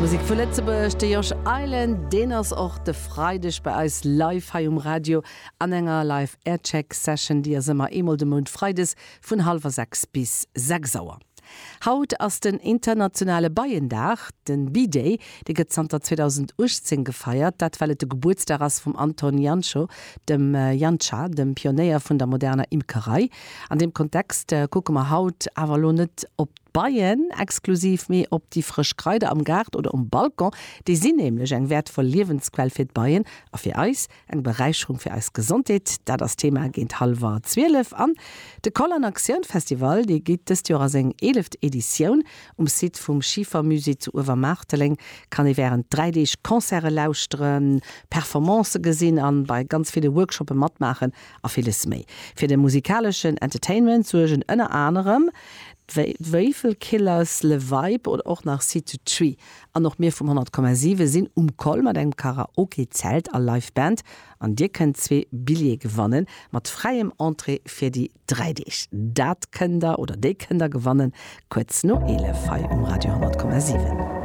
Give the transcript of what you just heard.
Musek vu Lëtzebuerg, de Josh Island, deen ass och de Freideg bei eis live hei um Radio an enger Live Aircheck Session. Déi ass ëmmer eemol de Mount freides vun hallwer 6 bis 6 Auer. Haut ass den internationale Beiendag, den Bee-Day. Dee gëtt zanter 2018 gefeiert, dat well et de Gebuertsdag ass vum Anton Jancho, dem Janša, dem Pionéier vun der moderner Imkerei. An deem Kontext kucke mer haut awer elo net op d'Beien exklusiv, mee op déi frësch Kraider am Gaart oder um Balcon. Déi sinn nämlech eng wäertvoll Liewensquell fir d'Beien a fir eis. Eng Beräicherung fir eis Gesondheet, dat ass d'Thema géint hallwer 12. An de Koll an Aktioun Festival, dee geet dëst Joer a seng eeleft Editioun. Um Site vum Schifermusée zu Uewermaarteleng kann ee wärend 3 Deeg Concerte lauschteren, Performancë gesinn an bei ganz ville Workshoppe matmaachen a villes méi. Fir de musikaleschen Entertainment suergen ënner anerem d'Wéifelkillers, Le Vibe oder och nach Seed to Tree. An och mir vum 100,7 sinn um Koll mat engem Karaoke-Zelt a Live Band an dir kënnt zwee Billjeeë gewannen mat fräiem Entrée fir déi 3 Deeg. Dat kënnt der oder déi kënnt der gewannen kuerz no 11 hei um Radio 100,7.